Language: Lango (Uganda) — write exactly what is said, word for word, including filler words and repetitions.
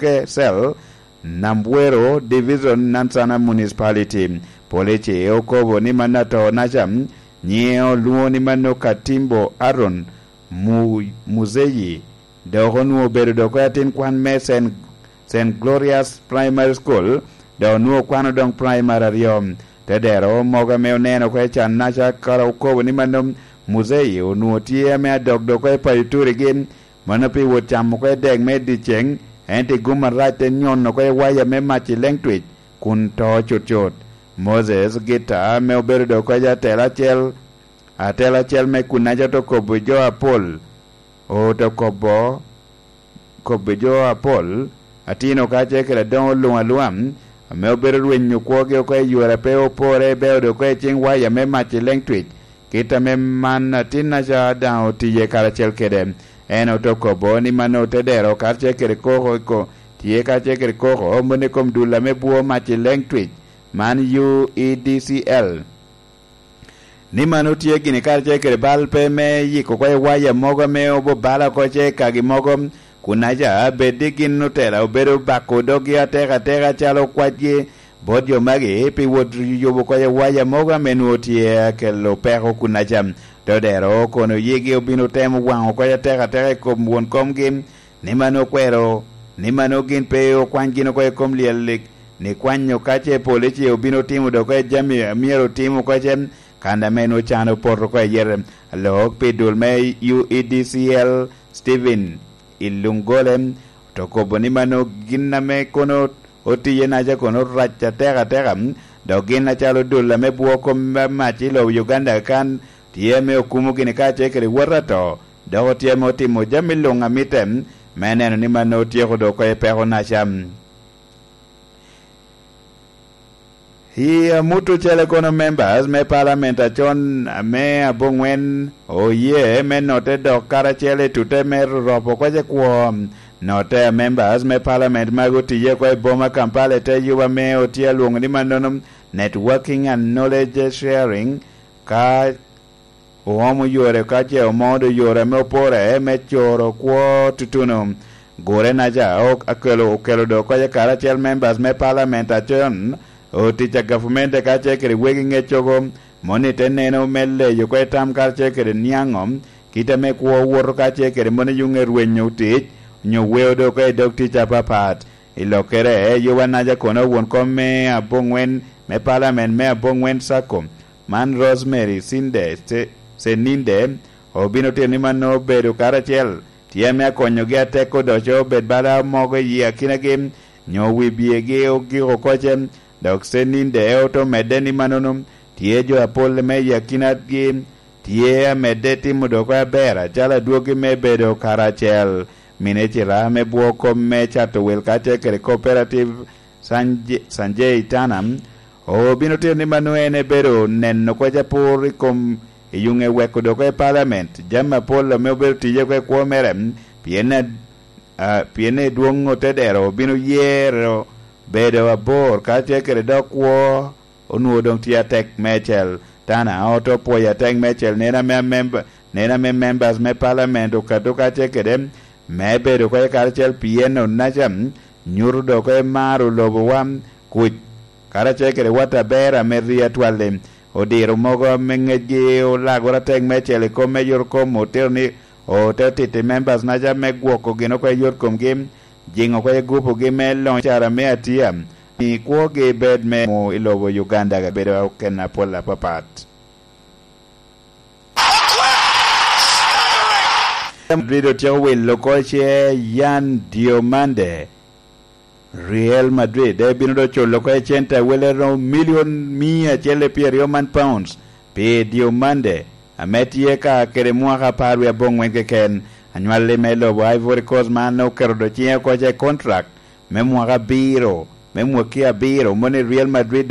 Ke Cell, Nambwero Division, Nansana Municipality. Police okobo ni mano ato-naca nyiŋe olwoŋo ni mano Katimbo Aaron Mu-, Muzeyi, dok onwoŋo obedo dok atin kwan me Saint, Saint Gloria's Primary School, dok onwoŋo kwano doŋ primary aryo. Tedero mogo ame oneno oko i can-naca kara okobo ni mano Muzeyi onwoŋo tye ame adok dok oko i payo turigi, mano pi wot camo oko i dek me dyeceŋ, ento i gum arac te nyono oko i waya me mac i Leŋtwic, kun to cutcut. Moses Gita ame obedo dok oko i atela acel, atela acel me kun-naca te kobo jo apol, ote kobo, kobo jo apol, atino kacel kede adoŋo luŋ aluŋa, ame obedo rwenyo kwogi oko i yore a pe opore, beo dok oko i ciŋ waya me mac i Leŋtwic, kit ame man atin-naca daŋ otiye karacel kede. En ote kobo ni mano te dero karacel kede koko i ko-, tye karacel kede koko moni i kom dul ame bwo mac i Leŋtwic, man U E D C L. Ni mano tye gini karacel kede bal pe me yiko oko i waya mogo ame obobala oko ce i kagi mogo, kun aca bed ni gin otela obedo bako doggi atek ateka calo kwacgi bot jo magi pi wot yubo oko i waya mogo ame nwoŋo tye akelo peko kun aca. Todero kono yigi obino temo waŋo oko atek ateka i kom won komgi, ni mano okwero, ni mano gin pe okwany gin oko i kom lyel, ni kwanyo ka ce polici obino timo dok oko i jami a myero otim oko ce, kan ame nwoŋo can opoto oko i yete. Alok pi dul me U E D C L, Stephen Ilungole, to kobo ni mano gin ame kono otiye naca kono rac atek ateka, dok gin acalo dul ame bwo kom me mac i lobo Uganda kan tye ame okumo gini kacel kede wot ato, dok otye ame otimo jami luŋ a mitte me neno ni mano otyeko dok oko i peko naca. I amut ocele kono, members me parliament acon ame aboŋwen oye me notte dok karacel i tute me roropo oko ce kwo. Notte a members me parliament magi otiye oko i boma Kampala i te yuba ame otye alwoŋo ni mannono Networking and Knowledge Sharing, ka oomo yore ka ce omodo yore ame opore me coro kwo tutuno. Gure naca ok akelo, okelo dok oko karacel members me parliament acon, otic a gavumenti kacel kede wegi ŋeccogo, moni te neno me leyo oko i tam karacel kede niaŋo, kit ame kwo woto kacel kede moni yuŋe rwenyo tic, onyo weo dok oko i dog tic apapat. I lokkere, Yowa Naja kono won kom me aboŋwen me parliament me aboŋwen Sacco, man Rosemary Sinde Ce-, Ceninde, obino tito ni mano obedo karacel, tye ame akonyogi atek odoco obed bala mogo i akinagi, nyo wi byegi ogiko koce, dok Ceninde ote omedde ni mannono, tye jo apol me i akinagi, tye amedde timo dok aber, acalo adwogi me bedo karacel. Minicita me bwo kom me cato wil kacel kede cooperative Sanje-, Sanjay Tana, obino tito ni mano en ebedo neno koc apur i kom i yuŋe weko dok i parliament, jami apol ame obedo tiye oko i kwo mere, pien a-, a, pien i dwoŋ ote dero obino yero bedo abor kacel kede dok kwo onwoŋo doŋ tye atek meicel. Tana ote opwoyo atek meicel neno ame amemba, neno ame members me parliament okato kacel kede me bedo oko karacel pien onaca nyuto dok oko maro lobowa kuc karacel kede wat aber ame ri atwal-li. Odiro mogo ame ŋecgi olagoro atek meicel i kom me yot kom otito ni ote otito i members naca me gwoko gin oko yot komgi, jiŋo oko gupugi me loŋ cara me atia, mi kwogi bed me mu i lobo Uganda bedo kena apol apapat. Madrid otyeko wilo oko ce Yan Diomande. Real Madrid ebino dok culo oko i cente a wele romo milion mia acel i pyeraryo man pounds pi Diomande, ame tye ka kede mwaka apar wie aboŋwen keken. Anywalli me lobo Ivory Coast man oketo dok ciŋe oko ce i contract me mwaka abiro, me mwaki abiro, moni Real Madrid